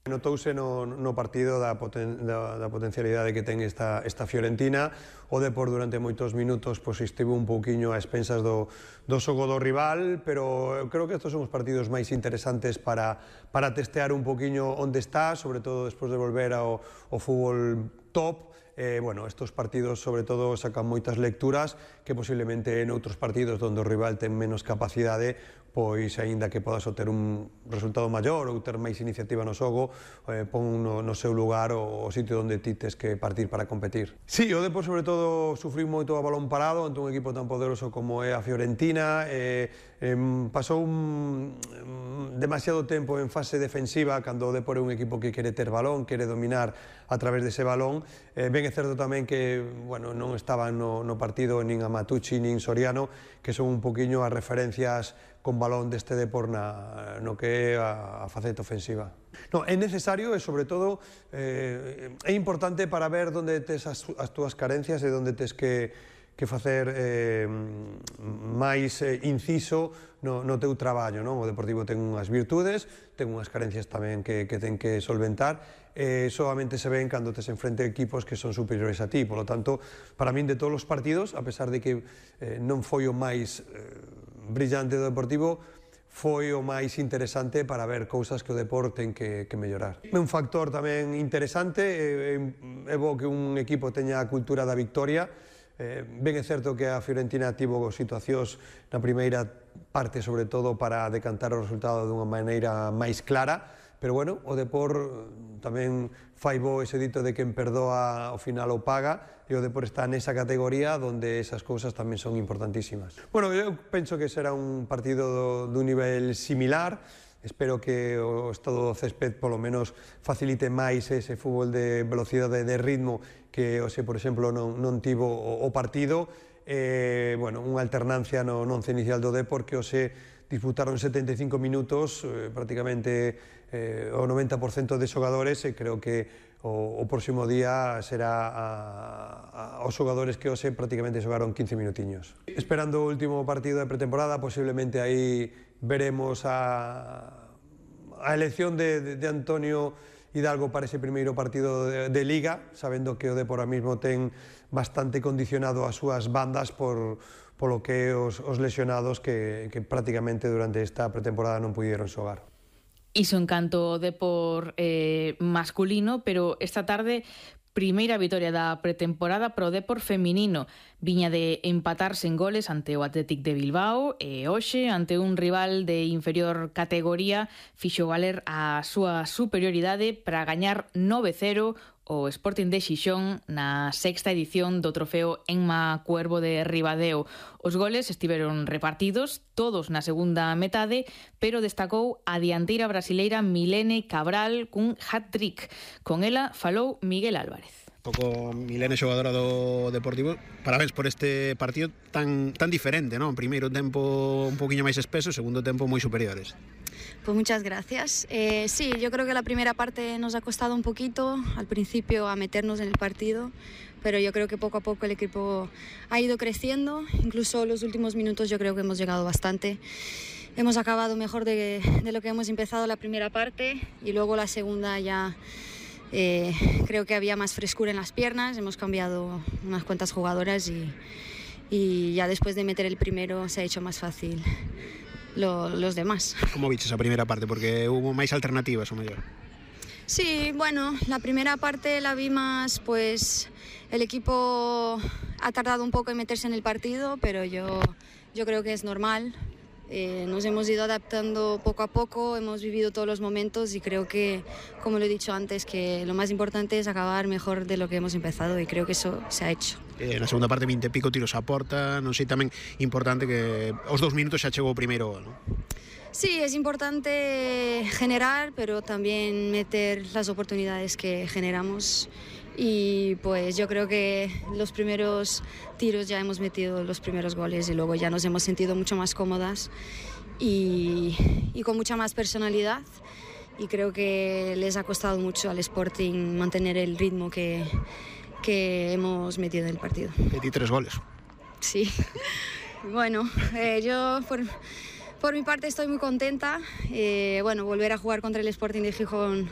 Notouse no partido da potencialidade que ten esta Fiorentina. O Depor durante moitos minutos estivo un pouquiño a expensas do xogo do rival, pero eu creo que estes son os partidos máis interesantes para testear un pouquiño onde está, sobre todo despois de volver ao fútbol top. Estes partidos sobre todo sacan moitas lecturas que posiblemente en outros partidos onde o rival ten menos capacidade, pois aínda que podas obter un resultado maior ou ter máis iniciativa no xogo, pon no seu lugar o sitio onde ti tes que partir para competir. Sí, o Depor sobre todo sufriu moito a balón parado ante un equipo tan poderoso como é a Fiorentina. Pasou demasiado tempo en fase defensiva cando o Depor é un equipo que quere ter balón, quere dominar a través dese balón. Ben é certo tamén que non estaban no partido nin Amatucci nin Soriano, que son un poquinho as referencias con balón deste Depor no que é a faceta ofensiva. É necesario e, sobre todo, é importante para ver onde tes as túas carencias e onde tes que facer máis inciso no teu traballo. O Deportivo ten unhas virtudes, ten unhas carencias tamén que ten que solventar, e solamente se ven cando tes enfrente equipos que son superiores a ti. Por lo tanto, para min de todos os partidos, a pesar de que non foi o máis brillante do Deportivo, foi o máis interesante para ver cousas que o Depor ten que mellorar. É un factor tamén interesante, é bo que un equipo teña a cultura da victoria. Ben é certo que a Fiorentina tivo situacións na primeira parte, sobre todo para decantar o resultado dunha maneira máis clara, pero o Depor tamén fai bo ese dito de quen perdoa ao final o paga, e o Depor está nesa categoría onde esas cousas tamén son importantísimas. Eu penso que será un partido dun nivel similar. Espero que o estado do césped polo menos facilite máis ese fútbol de velocidade de ritmo que, por exemplo, non tivo o partido. Unha alternancia no once inicial do Depor que disputaron 75 minutos, prácticamente o 90% de xogadores, e creo que o próximo día será os xogadores que prácticamente xogaron 15 minutiños. Esperando o último partido de pretemporada, posiblemente aí veremos a elección de Antonio Hidalgo para ese primeiro partido de Liga, sabendo que o Depor ahora mismo ten bastante condicionado as súas bandas polo que os lesionados que prácticamente durante esta pretemporada non puderon xogar. Iso en canto ao Depor masculino, pero esta tarde primeira vitoria da pretemporada pro Depor feminino. Viña de empatar sen goles ante o Athletic de Bilbao e hoxe, ante un rival de inferior categoría, fixo valer a súa superioridade para gañar 9-0 o Sporting de Xixón na sexta edición do trofeo Enma Cuervo de Ribadeo. Os goles estiveron repartidos, todos na segunda metade, pero destacou a dianteira brasileira Milene Cabral cun hat-trick. Con ela falou Miguel Álvarez. Milene, xogadora do Deportivo, parabéns por este partido tan diferente, ¿no? Primeiro tempo un poquinho máis espeso, segundo tempo moi superiores. Pues muchas gracias. Sí, yo creo que la primera parte nos ha costado un poquito al principio a meternos en el partido, pero yo creo que poco a poco el equipo ha ido creciendo, incluso los últimos minutos yo creo que hemos llegado bastante. Hemos acabado mejor de lo que hemos empezado la primera parte, y luego la segunda ya creo que había más frescura en las piernas, hemos cambiado unas cuantas jugadoras y ya después de meter el primero se ha hecho más fácil los demás. ¿Cómo viste esa primera parte? Porque hubo más alternativas o mayor. Sí, bueno, la primera parte la vi más, pues el equipo ha tardado un poco en meterse en el partido, pero yo creo que es normal. Nos hemos ido adaptando poco a poco, hemos vivido todos los momentos y creo que, como lo he dicho antes, que lo más importante es acabar mejor de lo que hemos empezado, y creo que eso se ha hecho. Na segunda parte 20 e pico tiros a porta, non sei, tamén importante que os 2 minutos xa chegou o primeiro gol, non? Sí, es importante generar, pero también meter las oportunidades que generamos. Y pues yo creo que los primeros tiros ya hemos metido los primeros goles y luego ya nos hemos sentido mucho más cómodas y con mucha más personalidad, y creo que les ha costado mucho al Sporting mantener el ritmo que hemos metido en el partido. 23 goles. Sí. Bueno, yo por mi parte estoy muy contenta. Volver a jugar contra el Sporting de Gijón